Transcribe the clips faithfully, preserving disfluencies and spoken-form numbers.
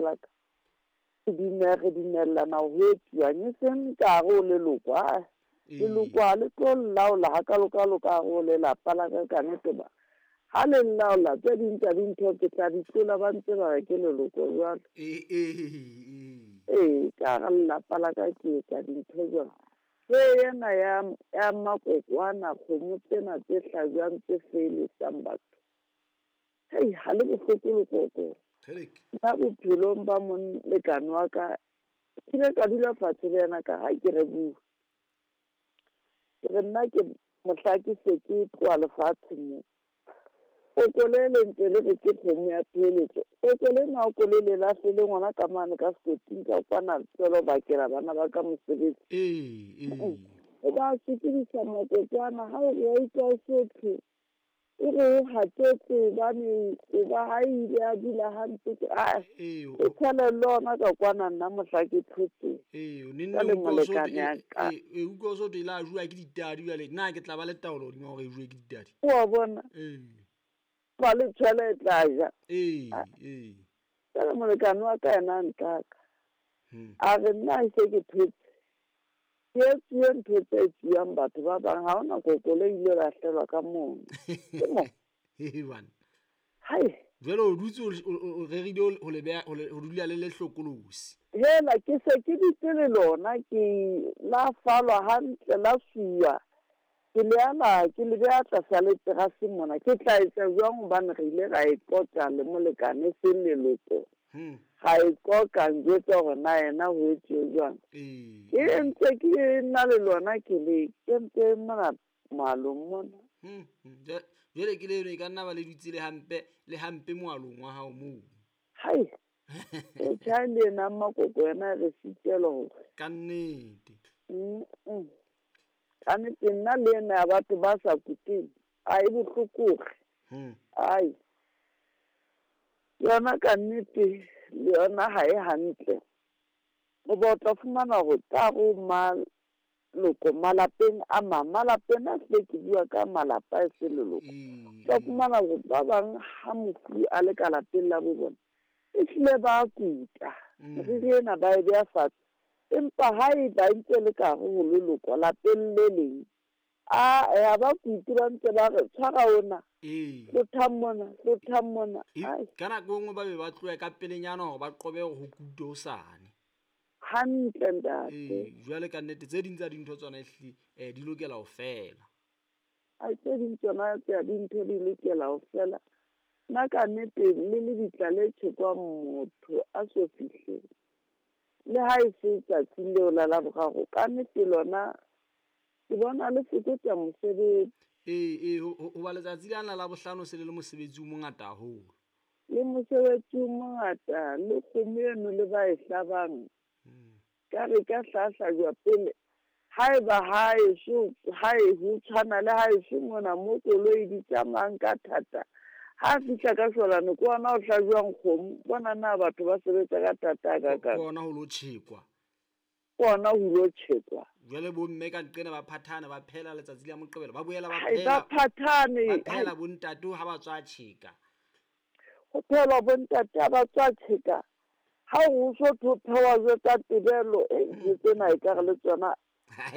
la ka. Re re dumellana ho etsuwang e seng ka hare ho leloko. Ah, leloko ha le tlo laola hakalo-kalo ka hare ho lelapa la ka ka nnete ba. Ha le nlaola tse ding tsa dintho ke tla di tlola ba ntse ba re ke leloko jwalo. Ee, ee, Ee, ka hara lelapa la ka ke etsa dintho jwalo. Se ena ya ya makoko ana kgomo tsena tse hlajwang tse feeletsang batho. Hei, ha le bohloko lekoko. Kgeleke. Nna bophelong ba molekane wa ka, ke ile ka dula fatshe le yena ka ha ke re bua. Ke re nna ke mohla ke se ke tloha lefatsheng mo. Koko le le ntse le re ke kgomo ya peeletso. Koko lena o ko le le lahlele ngwana ka mane ka sekoting ka kwana tswela ho bakela bana ba ka mosebetsi. Ee, ee. O ba sokodisa makokwana ha o re wa utlwa o so thwe. E re o hatetse hobane o ba ha ile a dula hampe ke ah. Ee, O tshele le ona ka kwana nna mohla ke thotse. Ee, o nenne Ka le o utlwa o so molekane ya ka. ee, ee, utlwa o so thwe e la jowa ke ditadi jwale nna ke tla ba le taolo hodima hore e jowe ke ditadi. Wa bona? Ee. Ba le tshwele e tla ja. Ee, ee. Jwale molekane wa ka yena a ntlaka. Hmm. A re nna ha se ke thotse. Ke etsuwe ntho tse etsuwang batho ba bang ha hona koko le ile lahlelwa ka mono. Ke mo. He bana. Hai. Jwale o dutse o o rerile ho le beha ho dula le le hlokolosi. Hela ke se ke dutse le lona ke la falwa hantle la suwa. Ke le ala ke le beha tlasa le terase mona. Ke tla etsa jwang hobane re ile ra e qoqa le molekane se leloko. Hmm. Ga e qoqa njwetsa hore na yena ho etsuwe jwang. Ee. Ke ntse ke na le lona ke le ke ntse mona moalong mona. Hmm. Jwale ke le eno e ka nna ba le dutse le hampe le hampe moalong wa hao moo. Hai. E tjha le ena makoko yena re sitelwa hore. Ka nnete. Mm. Ka nnete nna le ena ya batho ba sa kuteng a e bohloko. Hmm. Ai. Yona ka nnete le yona ha e hantle. O ba tla fumana hore ka ho maloko malapeng a mang, malapeng a hle ke bua ka malapa e se leloko. Tla fumana hore ba bang ha mofu a le ka lapeng la bo bona, e hlile ba kuta. Meriri ena ba e beha fatshe. Empa ha e ba ntse le ka hare ho leloko lapeng le leng, a ya ba kutu ba ntse ba re tshwara ona. Ee. Hlothang mona, hlothang mona. Ai. Ka nako e nngwe ba be ba tlohe ka pelenyana hore ba qobe hore ho kutwe hosane. Hantle ntate. Ee, jwale ka nnete tse ding tsa dintho tsona ehlile eh di lokela ho fela. Ai tse ding tsona tsa dintho di lokela ho fela. Nna ka nnete le lebitla le tjhekwang motho a so fihle. Le ha e se tsatsing leo la Laboraro, ka nnete lona ke bona le fokotsa mosebetsi. Ee, ee, hoba letsatsi lena la bohlano se le le mosebetsi o mongata haholo. Le mosebetsi o mongata, le kgomo eno le ba e hlabang. Ka re ka hlahlajwa pele. Haeba ha eso, ha e ho tshwana le ha eso mona mo koloi di tsamayang ka thata. Ha fihla ka shwalane ke ona o hlajwang kgomo, bona na batho ba sebetsa ka thata hakakang. Ke ona ho lo tjhekwa. Ke ona ho lo tjhekwa. Jwale bo mme ka nqena ba phathana ba phela letsatsi la Moqebelo, ba boela ba Hai, phela. ba phathane. Ba phela bo ntate ha ba tswa tjheka. Ho phela bo ntate ha ba tswa tjheka. Ha o so tho phewa jwalo ka tebelo, e ntho tsena ekare le tsona.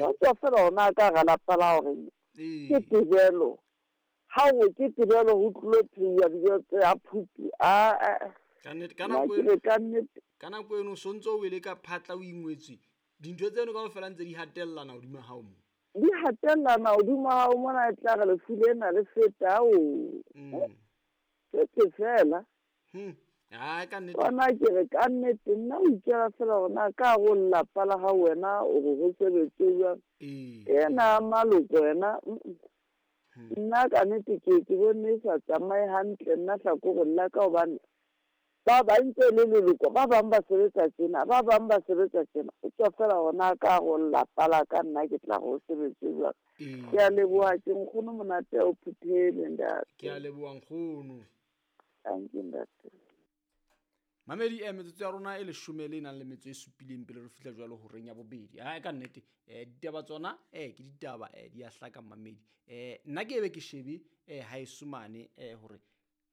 Ba tswa fela ona ka hara lapa la hore ke tebelo. Ha o ke tebelo ho tlo pheuwa dijo tsa phupi. A a. Ka nnete, ka nako Nna ke re ka nnete. Ka nako eno so ntso o wele ka phatla o ingwetswe. Dintho tseno kaofela ntse di hatellana hodima hao mo. Di hatellana hodima hao mona e tla re lefu lena le feta o. Mm. Ke ke fela. Hmm. Ah, ka nnete. Bona ke re ka nnete nna o itjela fela hore na ka hare ho lelapa la hao wena o re ho sebetse jwang. Ee. Ena maloko wena, mm. Nna ka nnete ke ke bone e sa tsamaye hantle nna hlakoreng la ka hobane ba bang ntse le leloko, ba bang ba sebetsa tjena, ba bang ba sebetsa tjena. O tswa fela hona ka hare ho lelapa la ka nna ke tla re ho sebetse jwang. Ke a leboha ke nkgono monate o phuthele ntate. Ke a leboha nkgono. Thank you ntate. Mamedi e metsotso ya rona e leshome le nang le metso e supileng pele re fihla jwalo horeng ya bobedi. Ha ka nnete eh ditaba tsona eh ke ditaba eh di a hlaka mamedi. Eh nna ke ebe ke shebe eh ha e sumane eh hore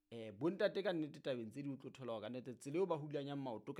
eh bontate ka nnete tabeng tse di o tlo thola ka nnete tsela eo ba hulanyang maoto ka